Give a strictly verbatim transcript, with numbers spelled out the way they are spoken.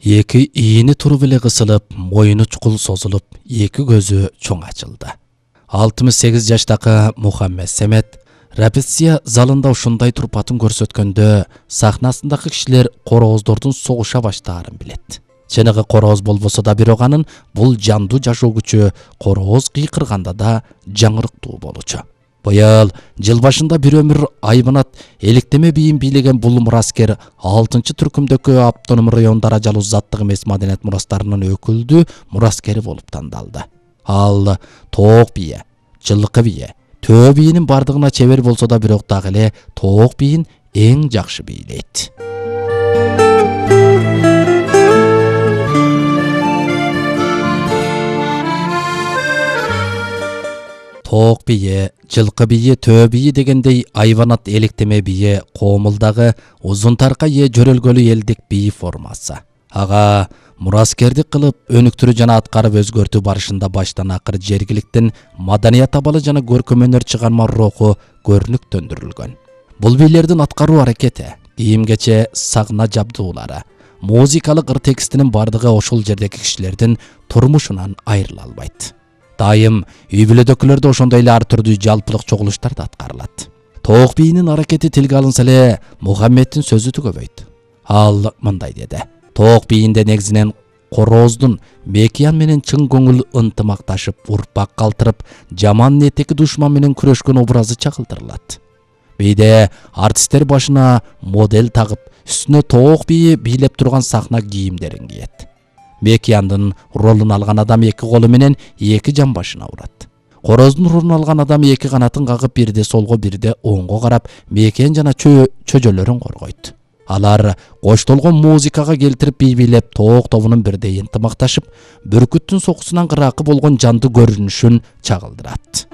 Эки ийини туруп эле кысылып, моюну чукул созулуп, эки көзү чоң ачылды. алтымыш сегиз жаштагы Мухаммед Семет репетиция залында ушундай турпатын көрсөткөндө сахнасындагы кишилер корооздордун согуша баштаарын билет. Чыныгы корооз болбосо да бирок анын бул жандуу жашоо күчү корооз кыйкырганда да жаңырыктуу болчу. Быйыл жыл башында бир өмүр айбанат электеме бийин бийлеген бул мураскер алтынчы түркүмдөгү автоном район даражалуу заттык эмес маданият мурастарынын өкүлдүү мураскери болуп тандалды. Ал тоок бие, жылкы бие, төө биинин бардыгына чебер болсо да бирок дагы эле тоок биин эң жакшы бийлейт. Тоок бие, жылкы бие, төө бие дегендей айбанат электеме бие коомулдагы узун тарка ээ жөрөлгөлү элдик бии формасы. Ага мураскердик кылып, өнүктүрүү жана аткарып өзгөртүү барышында баштан акыр жергиликтин маданият абалы жана көркөм өнөр чыгарма руху көрүнүктөндүрүлгөн. Бул бийлердин аткаруу аракети, кийим-кече, сагна жабдуулары, музыкалык ыр текстинин бардыгы ошол жердеги кишилердин турмушунан айрыла албайт. Дайым үй бүлөдөгүлөрдө ошондой эле ар түрдүү жалпылык чогулуштар да аткарылат. Тоок биинин аракети тилге алынса эле Мухаммедтин сөзү түгөбөйт. Ал мындай деди: тоок биинде негизинен корооздун мекиян менен чың көңүл ынтымакташып, урпак калтырып, жаман ниеттеги душман менен күрөшкөн образы чагылдырылат. Бийде артисттер башына модель тагып, үстүнө тоок бии бийлеп турган сахна кийимдерин кийет. Мекияндын ролун алган адам эки колу менен эки жамбашына урат. Корооздун ролун алган адам эки канатын кагып, бирде солго, бирде оңго карап, мекиян жана чө чөжөлөрүн коргойт. Алар коштолгон музыкага келтирип бий бийлеп, тоок тобунун бирдей ынтымакташып, бүркүттүн сокусунан кыраакы болгон жандуу көрүнүшүн чагылдырат.